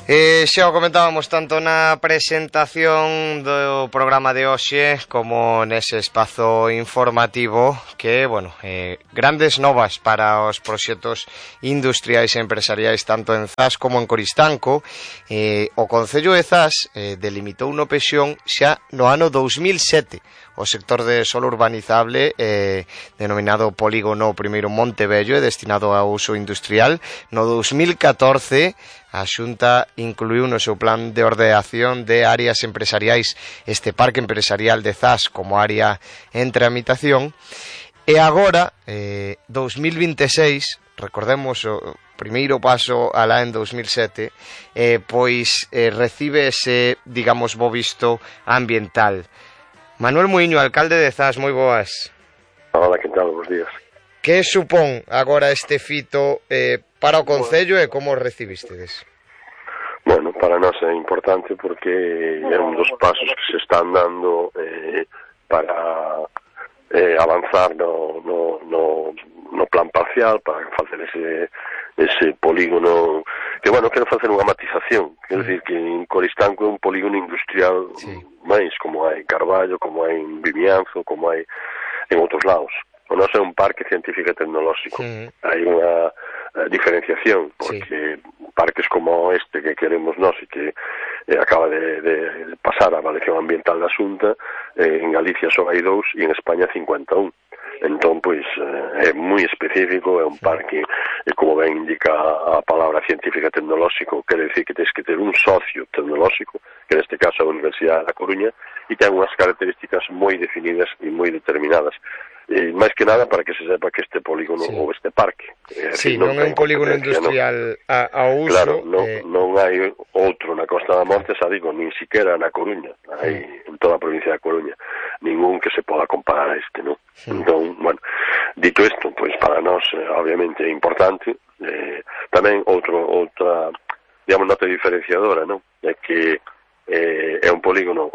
Xa o comentábamos tanto na presentación do programa de hoxe como nese espazo informativo que, grandes novas para os proxectos industriais e empresariais tanto en Zas como en Coristanco. O Concello de Zas delimitou no Pexón xa no ano 2007 o sector de solo urbanizable denominado Polígono Primeiro Montevello e destinado a uso industrial. No 2014 a Xunta incluiu no seu plan de ordenación de áreas empresariais este parque empresarial de Zas como área en tramitación. E agora, 2026, recordemos o primeiro paso alá en 2007, recibe ese, digamos, bo visto ambiental. Manuel Muiño, alcalde de Zas, moi boas. Hola, que tal? Bos días. Que supón agora este fito para o Concello e como o recibistedes? Bueno, para nós é importante porque é un dos pasos que se están dando para avanzar no plan parcial, para facer ese polígono que, quero facer unha matización, quero dicir que en Coristanco é un polígono industrial máis como hai en Carballo, como hai en Vimianzo, como hai en outros lados. O noso é un parque científico e tecnolóxico. Hai unha diferenciación, porque parques como este que queremos nós e que acaba de pasar a avaliación ambiental da Xunta, en Galicia só hai 2 e en España 51. Entón, é moi específico, é un parque, como ben indica a palabra científica e tecnolóxico, quere decir que tens que ter un socio tecnolóxico, que neste caso é a Universidade da Coruña, e ten unhas características moi definidas e moi determinadas. Máis que nada para que se sepa que este polígono ou este parque non é un polígono industrial a uso. Claro, non hai outro na Costa da Morte, xa digo, nin siquiera na Coruña, hai en toda a provincia da Coruña ningún que se poda comparar a este, non? Entón, dito isto, para nós obviamente é importante. Tamén outra digamos, nota diferenciadora, non? É que é un polígono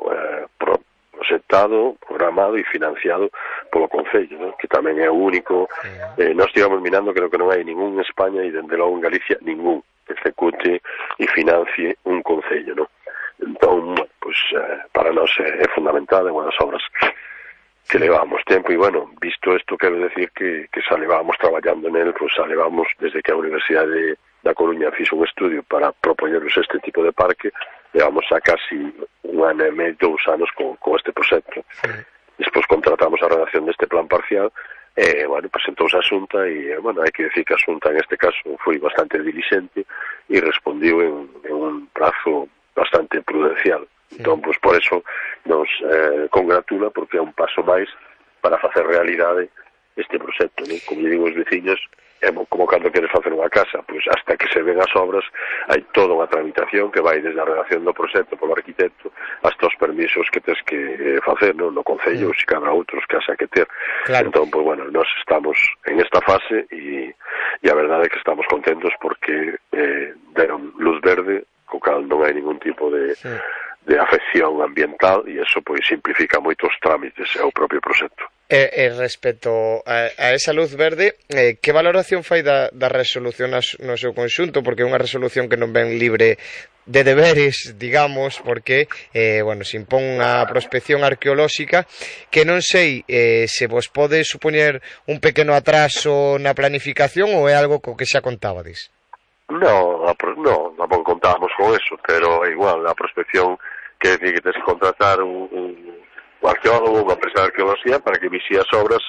proxectado, programado e financiado polo Concello, ¿no? Que tamén é o único. Nós estivemos mirando, creo que non hai ningún en España e dende logo en Galicia ningún que execute e financie un Concello, ¿no? Entón, para nós é fundamental, é unha das obras que levamos tempo e, visto isto, quero decir que xa levamos traballando nel, xa levamos desde que a Universidade da Coruña fixo un estudio para propoñernos este tipo de parque, levamos a casi un ano e medio, 2 anos con este proxecto. Despois contratamos a redacción deste plan parcial e, presentouse a Xunta e, hai que decir que a Xunta en este caso foi bastante diligente e respondiu en un prazo bastante prudencial. Entón, por eso nos congratula porque é un paso máis para facer realidade este proxecto, ¿no? Como digo os veciños, é como cando queres facer unha casa, hasta que se ven as obras hai toda unha tramitación que vai desde a redacción do proxecto polo arquitecto hasta os permisos que tens que facer, ¿no? No Concello, se cada outros que haxa que ter. Claro. Entón, nós estamos en esta fase e a verdade é que estamos contentos porque deron luz verde, co cal non hai ningún tipo de afección ambiental e eso simplifica moitos trámites ao propio proxecto. Respecto a esa luz verde, que valoración fai da resolución no seu conxunto? Porque é unha resolución que non ven libre de deberes, digamos, porque se impón unha prospección arqueolóxica que non sei se vos pode supoñer un pequeno atraso na planificación ou é algo co que xa contabades? No, tampouco contábamos con eso, pero é igual, a prospección quer decir que tens que contratar un arqueólogo, unha empresa de arqueoloxía para que vixie as obras,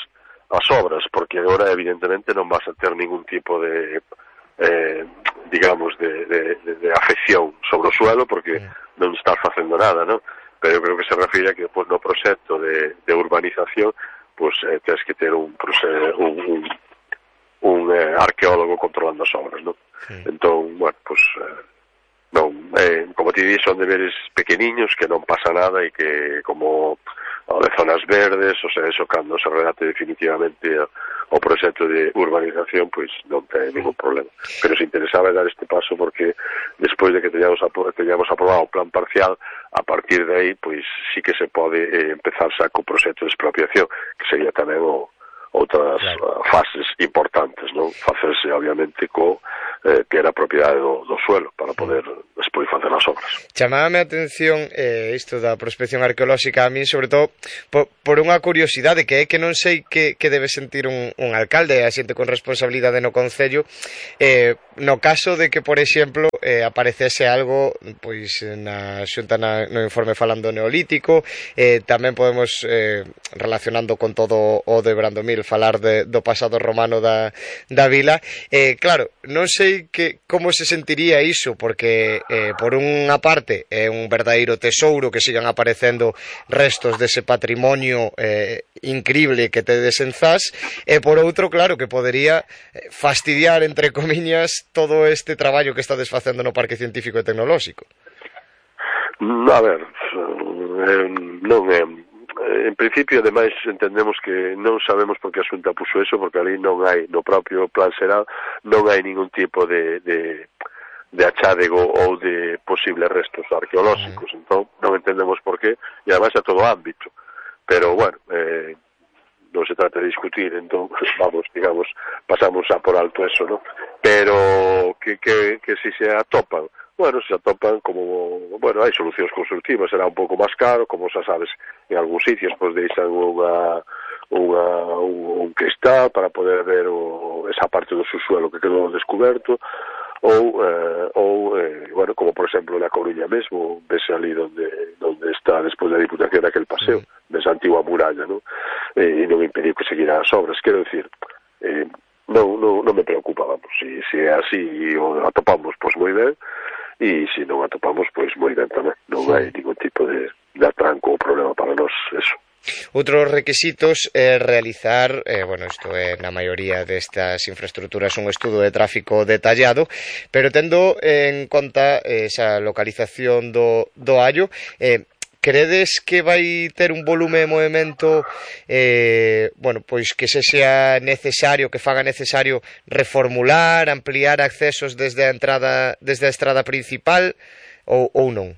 porque agora evidentemente non vas a ter ningún tipo de digamos, de afección sobre o suelo, porque non estás facendo nada, non? Pero eu creo que se refire a que depois no proxecto de urbanización tens que ter un arqueólogo controlando as obras, non? Entón, non, como te di, son deberes pequeniños que non pasa nada e que como de zonas verdes, o sea, eso cando se redate definitivamente o proxecto de urbanización, non ten ningún problema. Pero se interesaba dar este paso porque despois de que teñamos aprobado o plan parcial, a partir de aí, sí que se pode empezar xa co proxecto de expropiación, que sería tamén outras fases importantes, non? Facerse, obviamente, que era a propiedade do suelo para poder despois facer as obras. Chamábame a atención isto da prospección arqueolóxica a min, sobre todo por unha curiosidade que é que non sei que debe sentir un alcalde, a xente con responsabilidade no concello, no caso de que, por exemplo, aparecese algo pois na xunta no informe falando neolítico, tamén podemos relacionando con todo o de Brandomil falar do pasado romano da vila. Claro, non sei como se sentiría iso, porque por unha parte é un verdadeiro tesouro que sigan aparecendo restos dese patrimonio increíble que tedes en Zas, e por outro, claro, que podería fastidiar, entre comiñas, todo este traballo que estades facendo no Parque Científico e Tecnolóxico. A ver, non é... En principio, ademais, entendemos que non sabemos por que a Xunta puxo eso, porque ali non hai, no propio plan xeral, non hai ningún tipo de achádego ou de posibles restos arqueolóxicos, entón non entendemos por qué, e ademais a todo ámbito, pero bueno, non se trata de discutir, entón vamos, digamos, pasamos a por alto eso, ¿no? Pero que si se atopan, bueno, se atopan como, bueno, hai solucións constructivas, será un pouco máis caro, como xa sabes, en algúns sitios pois deixan un cristal para poder ver esa parte do subsuelo que quedou descoberto, ou bueno, como por exemplo na Coruña mesmo, vese ali donde está despois da Diputación aquel paseo, desa antigua muralla, ¿no? E non impediu que seguirá as obras, quero dicir, non me preocupa, vamos, se é así e o atopamos, pois moi ben, e se non atopamos, pois moi ben tamén, non hai ningún tipo de atranco ou problema para nós, eso. Outros requisitos é realizar, bueno, isto é na maioría destas infraestructuras un estudo de tráfico detallado, pero tendo en conta esa localización do Allo, credes que vai ter un volume de movimento bueno, pois que se sea necesario, que faga necesario reformular, ampliar accesos desde a estrada principal ou non?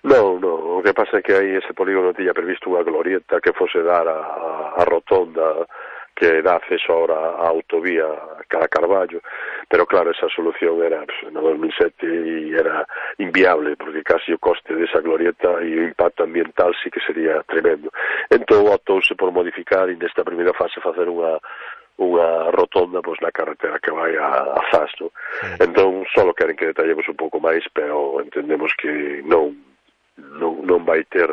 Non, o que pasa é que aí ese polígono tiña previsto unha glorieta que fose dar a rotonda que dá acceso ahora á autovía cara a Carballo, pero claro, esa solución era no 2007 e era inviable, porque casi o coste desa glorieta e o impacto ambiental sí que sería tremendo. Entón optouse por modificar e nesta primeira fase facer unha rotonda pois na carretera que vai a Zas, no? Entón só queren que detallemos un pouco máis, pero entendemos que non vai ter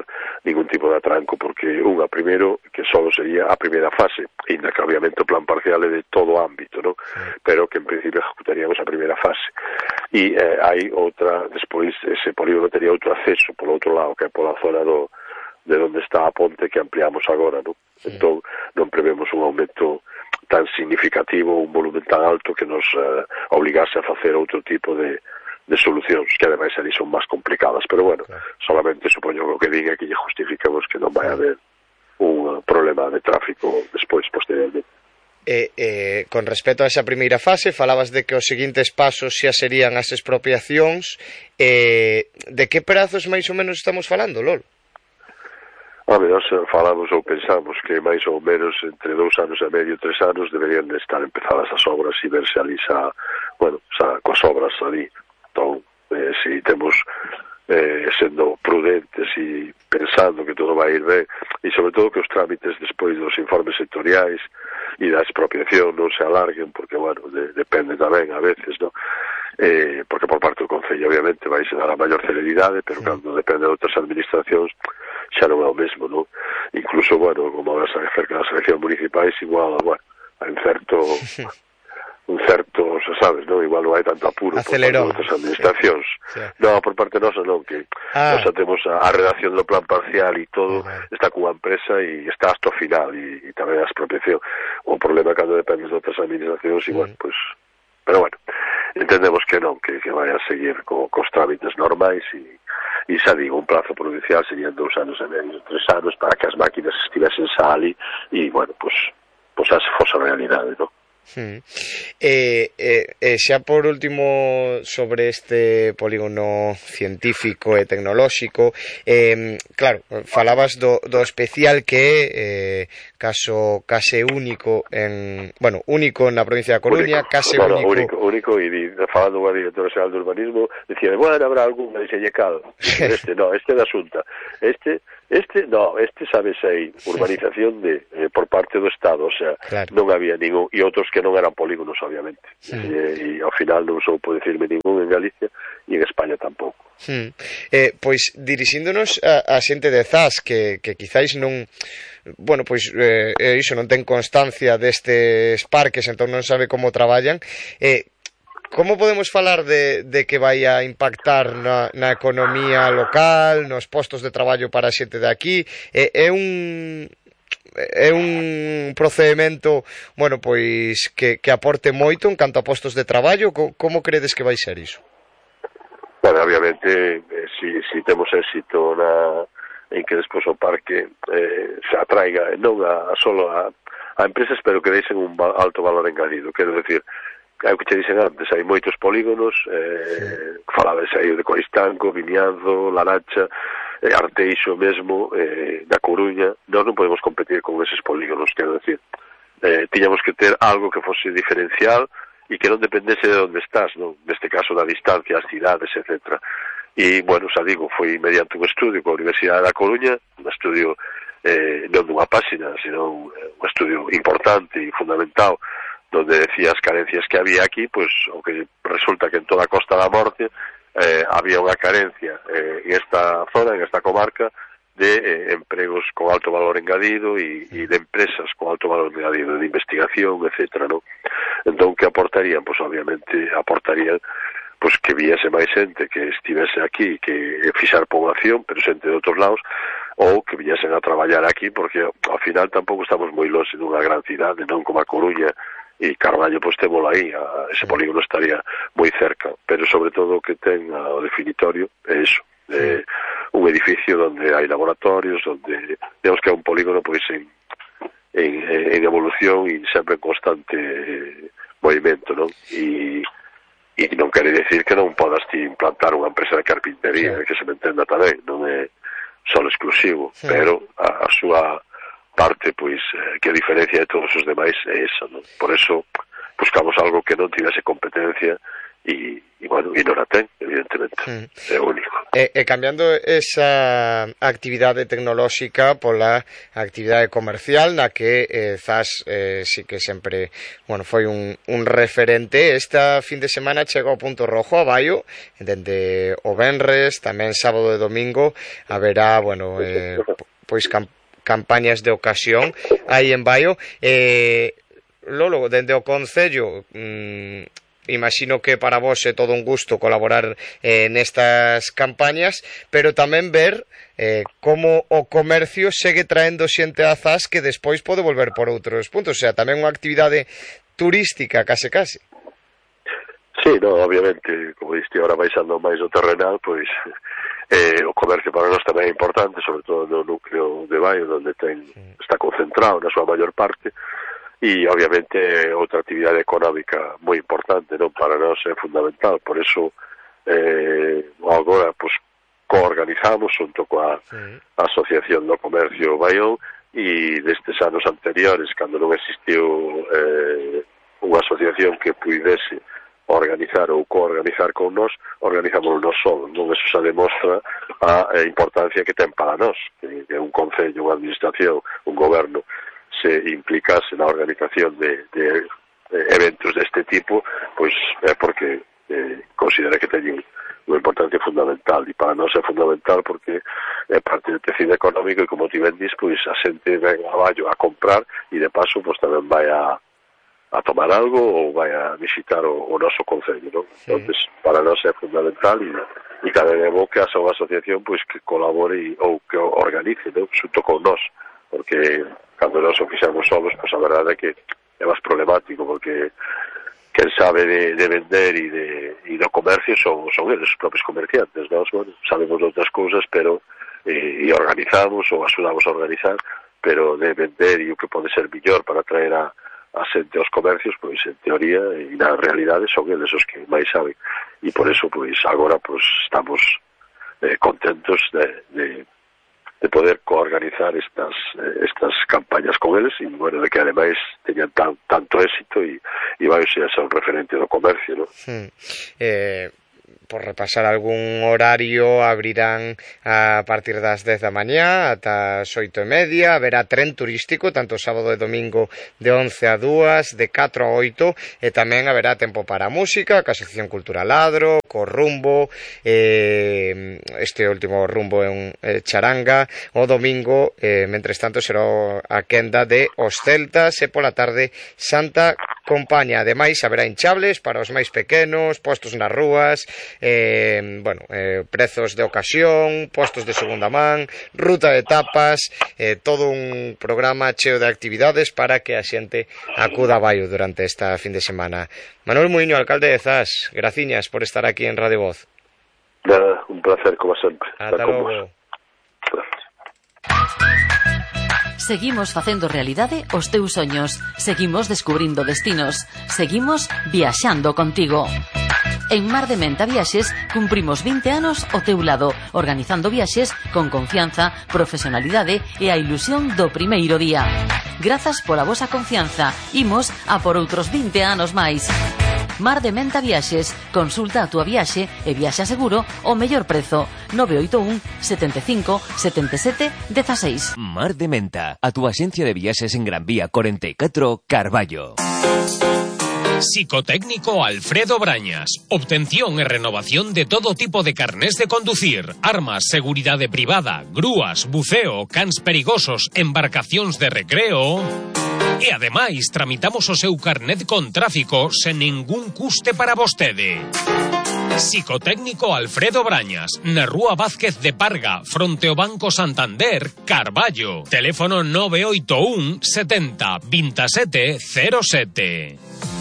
ningún tipo de atranco, porque primeiro, que só sería a primeira fase, ainda que obviamente o plan parcial é de todo o ámbito, ¿no? Pero que en principio ejecutaríamos a primeira fase. E hai outra, despois ese polígono tería outro acceso polo outro lado, que é pola zona de onde está a ponte que ampliamos agora, ¿no? Entón non prevemos un aumento tan significativo, un volumen tan alto que nos obligase a facer outro tipo de solucións, que ademais ali son máis complicadas, pero bueno, solamente supoño que diga que lle justificamos que non vai haber un problema de tráfico despois, posteriormente. Con respecto a esa primeira fase, falabas de que os seguintes pasos xa serían as expropiacións, de que prazos máis ou menos estamos falando, Lolo? Nós falamos ou pensamos que máis ou menos entre 2 anos e medio, 3 anos deberían de estar empezadas as obras e verse ali xa coas obras ali. Entón, se temos sendo prudentes e pensando que todo vai ir ben, e sobre todo que os trámites despois dos informes sectoriais e da expropiación non se alarguen, porque, bueno, depende tamén a veces, ¿no? Porque por parte do Concello obviamente vai se dar a maior celeridade, pero cando depende de outras administracións xa non é o mesmo, ¿no? Incluso, bueno, como ahora cerca das eleccións municipais, igual, bueno, hai un certo, sabes, non? Igual non hai tanto apuro por parte de outras administracións. Non, por parte nosa non, que nós temos a redacción do plan parcial e todo está cunha empresa e está hasta o final e tamén a expropiación. O problema cando depende de outras administracións e, bueno, pues, pero bueno, entendemos que non, que vai a seguir cos trámites normais e xa digo, un plazo provincial serían 2 anos e medio, 3 anos para que as máquinas estivesen xa ali e, bueno, pues xa se fose a realidade, non? Xa por último sobre este polígono científico e tecnolóxico, claro, falabas do especial que é case único único na provincia da Coruña, case único, e falando unha directora xeral de urbanismo dicía, bueno, habrá algún diseñecado este da Xunta, este sabe sei urbanización por parte do Estado, o sea, claro. Non había ningún, e outros que non eran polígonos obviamente, e ao final non soupo decirme ningún en Galicia e en España tampouco. Pois dirixíndonos a xente de Zas que quizáis non, bueno, pois iso non ten constancia destes parques, entón non sabe como traballan, como podemos falar de que vai a impactar na economía local, nos postos de traballo para a xente de aquí? É un procedimento, bueno, pois que aporte moito en canto a postos de traballo? Como credes que vai ser iso? Bueno, obviamente, si temos éxito en que despois o parque se atraiga non solo a empresas, pero que deixen un alto valor engadido, quero decir, é o que che dixen antes, hai moitos polígonos, falabes aí de Coristanco, Vimianzo, Laracha, Arteixo mesmo, da Coruña. Nós non podemos competir con eses polígonos, quero decir, tiñamos que ter algo que fose diferencial e que non dependese de onde estás, non? Neste caso da distancia, as cidades, etc. E, bueno, xa digo, foi mediante un estudio coa Universidade da Coruña, un estudio non dunha páxina, sino un estudio importante e fundamental, donde decía as carencias que había aquí, pois o que resulta que en toda a Costa da Morte había unha carencia en esta zona, en esta comarca, de empregos con alto valor engadido e de empresas con alto valor engadido, de investigación, etcétera, ¿no? Entón, que aportarían? Pois obviamente aportarían pois que viese máis xente que estivese aquí, que fixar población, pero xente de outros lados, ou que viñesen a traballar aquí, porque ao final tampouco estamos moi longe dunha gran cidade, non como a Coruña e Carballo, pois témolo aí, ese polígono estaría moi cerca, pero sobre todo o que ten o definitorio é iso, un edificio onde hai laboratorios, onde digamos que é un polígono pois en evolución e sempre en constante movimento, non? E non quere decir que non podas ti implantar unha empresa de carpintería, que se me entenda tamén, non é só exclusivo, pero a súa parte, pois, que a diferencia de todos os demais é esa, non? Por eso buscamos algo que non tivese competencia e bueno, e non a ten, evidentemente, é único. Cambiando esa actividade tecnolóxica pola actividade comercial na que Zas sí que sempre, bueno, foi un referente. Esta fin de semana chega ao Punto Rojo a Baio, dende o venres, tamén sábado e domingo haberá, bueno, pois campañas de ocasión aí en Baio. Lolo, dende o Concello, imagino que para vos é todo un gusto colaborar nestas campañas, pero tamén ver como o comercio segue traendo xente a Zas que despois pode volver por outros puntos, o sea, tamén unha actividade turística case. Sí, no, obviamente, como diste ahora baixando máis o terrenal, pois o comercio para nós tamén é importante, sobre todo no núcleo de Baio, onde está concentrado na súa maior parte, e obviamente outra actividade económica moi importante, non, para nós é fundamental. Por eso agora pois coorganizamos junto coa Asociación do Comercio Baión, e destes anos anteriores, cando non existiu unha asociación que puidese organizar ou coorganizar con nós, organizamos nós solos, non? Eso xa demostra a importancia que ten para nós, que un concello, unha administración, un goberno se implicase na organización de eventos deste tipo, pois é porque considera que teñen unha importancia fundamental, e para nós é fundamental porque é parte do tecido económico, e como ti ben dis, pois a xente ven a Baio a comprar e de paso pois tamén vai a tomar algo ou vai a visitar o noso concello, non? Entonces, para nós é fundamental, e cada vez é bo que haxa unha asociación pois que colabore ou que organice, non? Xunto con nós, porque cando nós o fixamos solos, pois a verdade é que é máis problemático, porque quen sabe de vender e do comercio son eles, os propios comerciantes. Nós, bueno, sabemos de outras cousas, pero e organizamos ou axudamos a organizar, pero de vender e o que pode ser mellor para traer a a xente aos comercios, pois en teoría e na realidade son eles os que máis saben, e por eso pois agora pois estamos contentos de poder coorganizar estas campañas con eles, e bueno, de que ademais teñan tanto éxito e vai ser un referente do comercio, ¿no? Por repasar algún horario, abrirán a partir das 10 da mañá ata as 8:30, haberá tren turístico tanto sábado e domingo de 11 a 2, de 4 a 8, e tamén haberá tempo para música, a Asociación Cultural Adro, co Rumbo, este último Rumbo é un charanga, o domingo, mentres tanto, será a quenda de os celtas, e pola tarde Santa Compaña. Ademais, haberá hinchables para os máis pequenos, postos nas rúas, prezos de ocasión, postos de segunda man, ruta de tapas, todo un programa cheo de actividades para que a xente acuda a Baio durante esta fin de semana. Manuel Muiño, alcalde de Zas, graciñas por estar aquí en Radio Voz. Nada, un placer como sempre. Ata logo. Seguimos facendo realidade os teus soños, seguimos descubrindo destinos, seguimos viaxando contigo. En Mar de Menta Viaxes cumprimos 20 anos ao teu lado, organizando viaxes con confianza, profesionalidade e a ilusión do primeiro día. Grazas pola vosa confianza, imos a por outros 20 anos máis. Mar de Menta Viaxes, consulta a túa viaxe e viaxa seguro ao mellor prezo. 981 75 77 16. Mar de Menta, a túa axencia de viaxes en Gran Vía 44, Carballo. Psicotécnico Alfredo Brañas. Obtención e renovación de todo tipo de carnés de conducir, armas, seguridade privada, grúas, buceo, cans perigosos, embarcacións de recreo. E ademais tramitamos o seu carnet con tráfico sen ningún custe para vostede. Psicotécnico Alfredo Brañas, na Rúa Vázquez de Parga, fronte ao Banco Santander, Carballo. Teléfono 981 70 27 07.